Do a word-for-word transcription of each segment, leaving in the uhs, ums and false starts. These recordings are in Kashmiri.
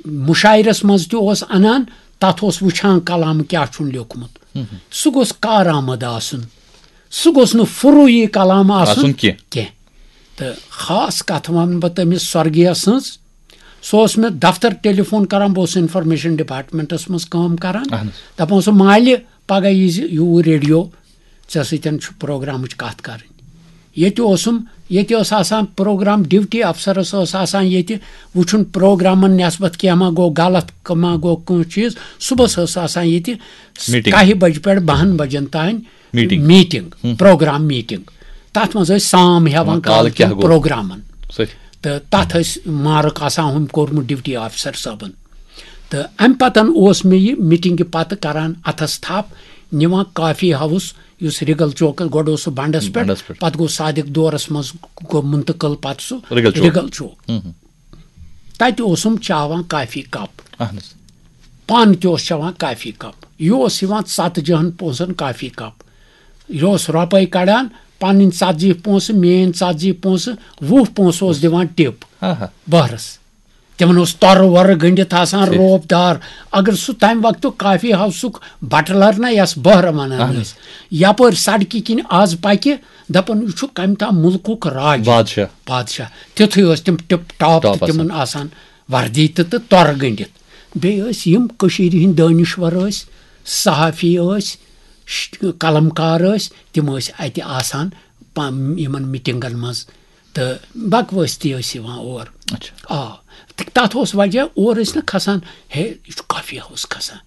مُشاعرس منٛز تہِ اوس انان، تتھ اوس وٕچھان کلام کیٛاہ چھُن لیوٚکھمُت۔ سُہ گوٚژھ کارآمد آسُن، سُہ گوٚژھ نہٕ فروٗعی کلام آسُن آسُن کینٛہہ۔ کینٛہہ۔ تہٕ خاص کتھ ونہٕ بہٕ تٔمِس سۄرگیس سٕنٛز۔ سُہ اوس مےٚ دفتر ٹیلی فون کران، بہٕ اوسُس انفارمیشن ڈپارٹمنٹس منٛز کٲم کران۔ اہن حظ۔ دپان اوس، "مالہِ، پگاہ ییٖزِ یوٗرۍ ریڈیو، ژےٚ سۭتۍ چھُ پروگرامٕچ کتھ کرٕنۍ۔" ییٚتہِ اوسُم، ییٚتہِ اوس آسان پروگرام، ڈیوٹی افسرس اوس آسان ییٚتہِ وٕچھُن پروگرامن نسبت کینٛہہ ما گوٚو غلط، کانٛہہ ما گوٚو کانٛہہ چیٖز۔ صُبحس ٲس آسان ییٚتہِ میٖٹِنٛگ۔ کاہہِ بجہِ پٮ۪ٹھ بہن بجن تام meeting. Meeting, hmm. Programme meeting. تتھ منٛز ٲسۍ سام ہٮ۪وان وۄنۍ کالہٕ کالہٕ کیٛاہ کٮ۪ن گوٚو؟ پروگرامن۔ صحیح۔ تہٕ تتھ ٲسۍ مارک آسان ہُم کوٚرمُت ڈیوٹی افسر صٲبن۔ تہٕ امہِ پتن اوس مےٚ یہِ میٖٹِنٛگہِ پتہٕ کران اتھس تھپھ، نِوان کافی ہاوُس، یُس رِگل چوکس، گۄڈٕ اوس سُہ بنڈس پٮ۪ٹھ، بنڈس پٮ۪ٹھ۔ پتہٕ گوٚو صادق دورس منٛز گوٚو منتقل پتہٕ سُہ رِگل چوک۔ رِگل چوک۔ ہُم ہُم۔ تتہِ اوسُم چاوان کافی کپ۔ اہن حظ۔ پانہٕ تہِ اوس چٮ۪وان کافی کپ۔ یہِ اوس یِوان ژتجی ہن پونٛسن کافی کپ۔ یہِ اوس رۄپے کڑان، پنٕنۍ ژتجی پونٛسہٕ، میٲنۍ ژتجی پونٛسہٕ، وُہ پونٛسہٕ اوس دِوان ٹِپ آہا۔ بہرس۔ تِمن اوس تۄرٕ وۄرٕ گٔنڈِتھ آسان ٹھیٖک۔ روب دار۔ اگر سُہ تمہِ وقتُک کافی ہاوسُک بٹلر نہ یس بہرٕ ونان اہن۔ ٲسۍ، یپٲرۍ سڑکہِ کِنۍ از پکہِ، دپان، "یہِ چھُ کمہِ تام مُلکُک راج۔" بادشاہ۔ بادشاہ۔ تیُتھُے ٲسۍ تِم ٹِپ ٹاپ ٹاپ تہٕ تِمن آسان۔ آسان وردی تہٕ، تہٕ تۄرٕ گٔنڈِتھ۔ بیٚیہِ ٲسۍ یِم کٔشیٖرِ ہِنٛدۍ دٲنِشور ٲسۍ، صحافی ٲسۍ، ش-، قلم کار ٲسۍ، تِم ٲسۍ اَتہِ آسان پا-، یِمن میٖٹِنٛگن منٛز۔ تہٕ بکوٲسۍ تہِ ٲسۍ یِوان اور۔ اچھا۔ آ، تہٕ تَتھ اوس وجہ، اور ٲسۍ نہٕ کھسان، ہے، یہِ چھُ کافی ہاوُس کھسان،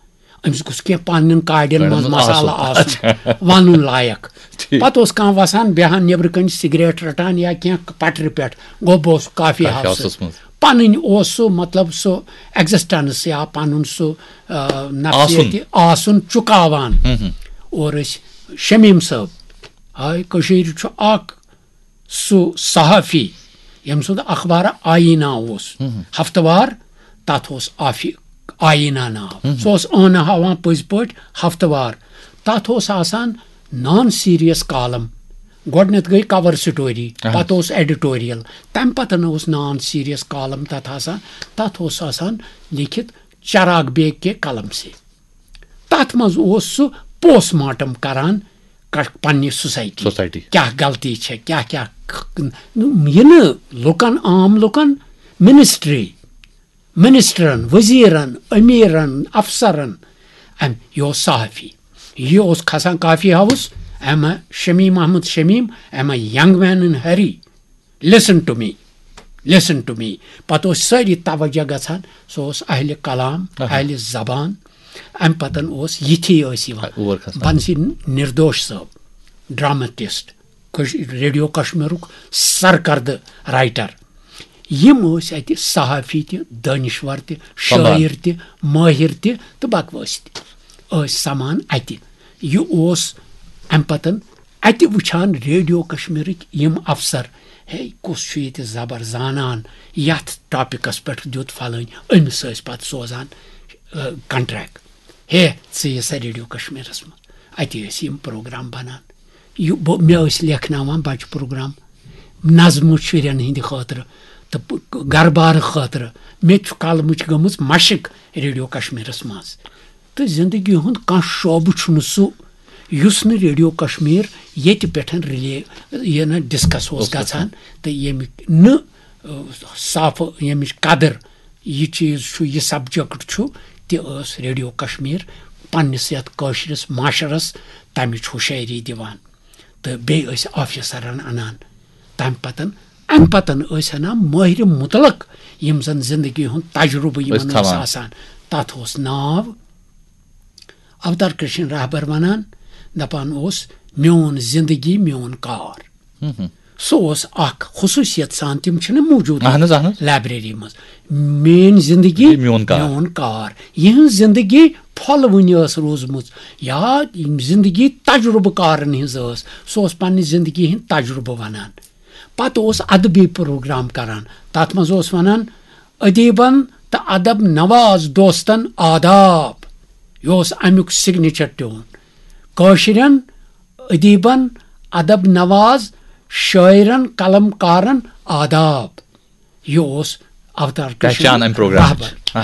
أمِس گوٚژھ کینٛہہ پننٮ۪ن کاڑٮ۪ن کاڑٮ۪ن منٛز منٛز مسالہٕ آسُن۔ آسُن، اچھا۔ وَنُن لایق۔ ٹھیٖک۔ پتہٕ اوس کانٛہہ وَسان، بیٚہان نیٚبرٕ کَنہِ سِگریٹ رَٹان یا کینٛہہ پَٹرِ پٮ۪ٹھ، گوٚو بہٕ اوسُس کافی کافی ہاوسَس ہاوسَس منٛز۔ پَنٕنۍ اوس سُہ، مطلب، سُہ ایگزسٹنس یا پَنُن سُہ، آ، نفسیتی آسُن۔ آسُن چُکاوان۔ ہُم ہُم۔ اور أسۍ شمیٖم صٲب، آے کٔشیٖرِ چھُ اکھ سُہ صحافی، ییٚمۍ سُنٛد اخبار آیینہ اوس، ہفتہٕ وار، تَتھ اوس آفی-، آیینہ ناو۔ سُہ اوس ٲنہٕ ہاوان پٔزۍ پٲٹھۍ ہفتہٕ وار۔ تَتھ اوس آسان نان سیریس کالم۔ گۄڈٕنٮ۪تھ گٔے کور سٹوری، اہن۔ پَتہٕ اوس ایڈیٹوریل، تَمہِ پَتہٕ اوس نان سیریس کالم تَتھ آسان۔ تَتھ اوس آسان لیکھِتھ چراغ بیگ کے قلم سے۔ تَتھ منٛز اوس سُہ پوسٹ مارٹم کران ک-، پننہِ سوسایٹی۔ سوسایٹی۔ کیٛاہ غلطی چھےٚ، کیٛاہ کیٛاہ ک-، یہِ نہٕ لُکن، عام لُکن، منسٹری، منسٹرن، وزیرن، امیرن، افسرن، امہِ، یہِ اوس صحافی۔ یہِ اوس کھسان coffee house, M A Shamim Ahmad Shamim, M A young man in hurry, listen to me, listen to me۔ پتہٕ اوس سٲری توجہ گژھان، سُہ اوس اہلِ کلام، اہن۔ اہلِ زبان۔ امہِ پتن اوس یِتھی ٲسۍ یِوان۔ اور کھسان۔ بنسی نردوش صٲب، ڈرامٹسٹ، کش-، ریڈیو کشمیرُک سرکردٕ رائٹر۔ یِم ٲسۍ اتہِ صحافی تہِ، دٲنِشور تہِ، سمان۔ شٲعر تہِ، مٲہِر تہِ تہٕ بکوٲسۍ تہِ ٲسۍ سمان اتہِ۔ یہِ اوس امہِ پتن اتہِ وٕچھان ریڈیو کشمیرٕکۍ یِم افسر، ہے، کُس چھُ ییٚتہِ زبر زانان، یتھ ٹاپکس پٮ۪ٹھ دیُت فلٲنۍ، أمِس ٲسۍ پتہٕ سوزان، آ، کنٹریکٹ، ہے، ژٕ یہِ سا ریڈیو کشمیرس منٛز۔ اتی ٲسۍ یِم پروگرام بنان۔ یہِ بہٕ، مےٚ ٲسۍ لیکھناوان بچہٕ پروگرام، نظمہٕ شُرٮ۪ن ہٕنٛدِ خٲطرٕ تہٕ پ-، گرٕ بارٕ خٲطرٕ۔ مےٚ تہِ چھُ قلمٕچ گٔمٕژ مشق ریڈیو کشمیرس منٛز۔ تہٕ زندگی ہُنٛد کانٛہہ شعبہٕ چھُنہٕ سُہ، یُس نہٕ ریڈیو کشمیر ییٚتہِ پٮ۪ٹھ رِلے، یہِ نہٕ ڈسکس اوس اوس گژھان۔ گژھان۔ تہٕ ییٚمہِ نہٕ، آ، صافہٕ، ییٚمِچ قدر، یہِ چیٖز چھُ، یہِ سبجیکٹ چھُ، تہِ ٲس ریڈیو کشمیر پننِس یتھ کٲشرِس معاشرس تمِچ ہُشٲری دِوان۔ تہٕ بیٚیہِ ٲسۍ آفیسرن انان۔ تمہِ پتن، امہِ پتن ٲسۍ انان مٲہرِ مطلق، یِم زن زندگی ہُنٛد تجربہٕ یِمن ٲسۍ اوس تھاوان۔ آسان۔ تتھ اوس ناو اوتار کرشن رہبر ونان، دپان اوس، "میون زندگی، میون کار۔" ہم ہم۔ سُہ اوس اکھ خصوٗصیت سان، تِم چھِنہٕ موٗجوٗد اہن حظ، اہن حظ۔ لائبریری منٛز۔ میٲنۍ زندگی، یہِ میون کار۔ میون کار۔ یِہٕنٛز زندگی پھۄلوٕنۍ ٲس روٗزمٕژ، یا یِم زندگی تجربہٕ کارن ہٕنٛز ٲس۔ سُہ اوس پننہِ زندگی ہٕنٛدۍ تجربہٕ ونان۔ پتہٕ اوس ادبی پروگرام کران۔ تتھ منٛز اوس ونان، "ادیبن تہٕ ادب نواز دوستن آداب۔" یہِ اوس امیُک سگنیچر ٹیون۔ کٲشرٮ۪ن ادیبن، ادب نواز شٲعرن، قلم کارن آداب۔ یہِ اوس اوتار کرشن پہچان امہِ پروگرامٕچ۔ رہبر۔